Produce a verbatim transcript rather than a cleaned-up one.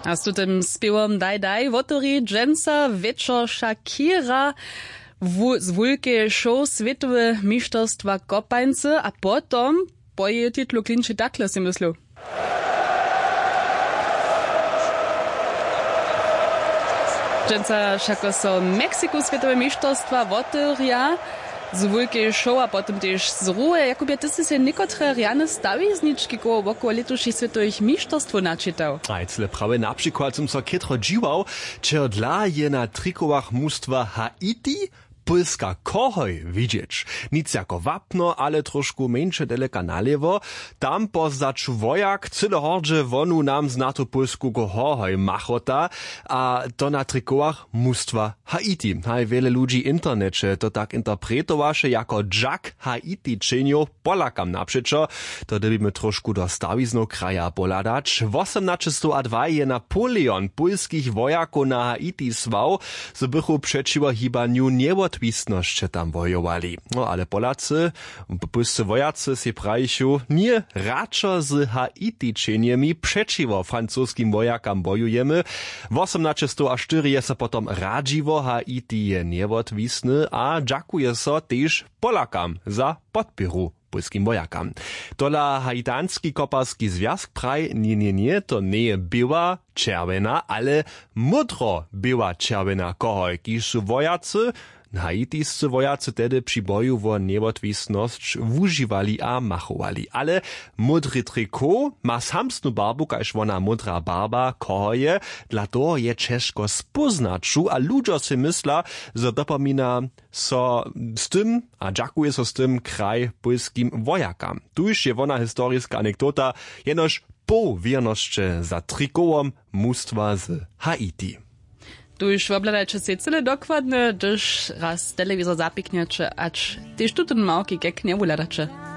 A z tutym spěwom daj daj wotewri dźensa wječor Shakira z wulkeje show swětowe mišterstwa kopańcy a potom po jeje titlu klinči takle sej myslił. Dźensa wšako so w meksiku swětowe mišterstwa wotewrja z wulkeje show a potom tež z ruhe. Jakubje, ty sy sej někotre rjane stawiznički koło wokoło lětušich swětowych mišterstwow načitał. A je cyle prawje, na přikład sym so chětro dźiwał, čehodla je na trikowach mustwa Haiti pólska kohoj widźeć. Nic jako wapno, ale trošku mjeńše deleka nalěwo. Tam po zdaću wojak cyle hordźe wonu nam znatu pólsku kohoj machota, a to na trikowach mustwa Haiti. Haj, wjele ludźi w interneće to tak interpretowaše jako dźak Haiti čenjow Polakam napřećo. To dyrbimy trošku do stawiznow kraja pohladać. Wosomnaćestowdwa je Napoleon pólskich wojakow na Haiti słał, zo bychu přećiwo hibanju njewotwisnosće tam wojowali. No ale Polacy, pólscy wojacy sej prajichu: Ně, radšo z Haiti čenjemi přećiwo francoskim wojakam wojujemy. Wosomnaćestowštyri je so potom radźiło, Haiti je njewotwisny a dźakuje so tež Polakam za podpěru pólskim wojakam. Tola Haitanski koparski zwjazk praji: Ně, ně, ně, to njeje běła čerwjena, ale módro běła čerwjena kohoj, kiž su wojacy, haitiscy wojacy, tehdy při boju wo njewotwisnosć wužiwali a machowali. Ale módry trikot ma samsnu barbu kaž wona módra barba kohoje. Dla toho je ćežko spóznaću a ludźo sej mysla, zo dopomina so z tym a dźakuje so z tym kraj pólskim wojakam. Tuž je wona historiska anekdota, jenož poł wěrnosće za trikowom mustwa z Haiti. Tuž wobhladajće sej cyle dokładnje, hdyž raz telewizor zapiknjeće, ać tež tutón małki kek njewuhladaće.